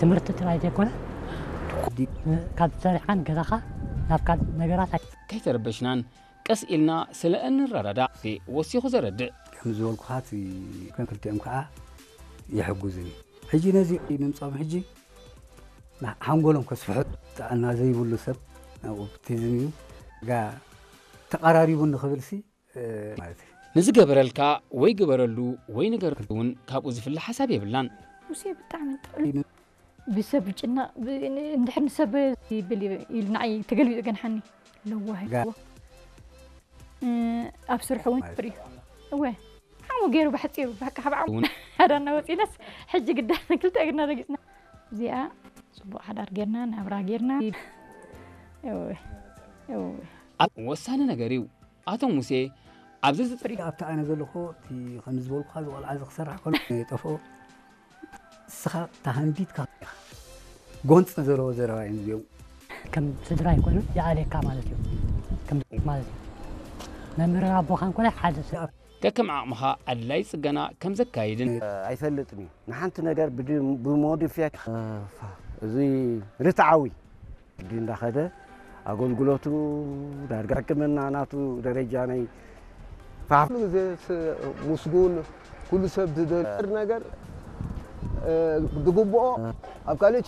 ትምህርቲ ጥራይ ዘይኮነ፣ ካብ ሰሪሓን ገዛኻ ናብ ካልእ ነገራት ኣይ- ከይተረበሽናን ቀስ ኢልና ስለ እንረዳዳእ ወሲኹ ዘረድእ። ከም ዝበልኩኻ እቲ ከም ክልቲኦም ከዓ ይሕጉዝን እዩ። ሕጂ ነዚ ምምፃኦም ሕጂ ሓንጎሎም ከስፍሑ ጥዕና ዘይብሉ ሰብ ናብ ኦፕቲዝም እዩ ጋ ተቐራሪቡ ንኽብል ሲ ማለት እዩ። ንዝገበረልካ ወይ ግበረሉ ወይ ንገረሉ እውን ካብኡ ዝፍለ ሓሳብ የብልናን። ሙሴ ብጣዕሚ ጥዑም ብሰብ ጭና እንድሕር ንሰብ ይብል ኢሉ ንዓይ ተገልቢጡ ገንሓኒ ለዋህ ጋ- ኣብ ስርሑ እውን ፍሪ እወ ሓሙ ገይሩ ብሓፂሩ ባካ ካብ ዓሙ ሓዳና ወፂናስ ሕጂ ግዳ ክልተ እግርና ረጊፅና እዚኣ ፅቡቅ ሓዳር ጌርና ናብራ ጌርና እወ እወ ኣብ ወሳኒ ነገር እዩ። ኣቶ ሙሴ ኣብዚ ዝፅሪ ኣብቲ ኣነ ዘለኹ እቲ ከም ዝበልኩኻ ዝቆልዓ እዚ ክሰርሕ ከሎ የጠፍኦ እስኻ ተሃንዲድካ ኢኻ ጎንፂ ዘለዎ ዘረባ እዮም እዚኦም ከም ስድራ ይኮኑ ይኣልየካ ማለት እዩ ከም ማለት እዩ መምህርን ኣቦኻን ኮነ ሓደ ሰብ ከከም ዓቕምኻ ኣድላይ ፅገና ከም ዘካይድን ኣይፈልጥን እዩ ንሓንቲ ነገር ብሞዲፊያ እዚ ርትዓዊ ዲ እንዳኸደ ኣገልግሎቱ ዳርጋ ሕክምና ናቱ ደረጃ ናይ ኩሉ ግዜ ምስጉን ኩሉ ሰብ ዝደል ነገር ዝግብኦ ኣብ ካልእ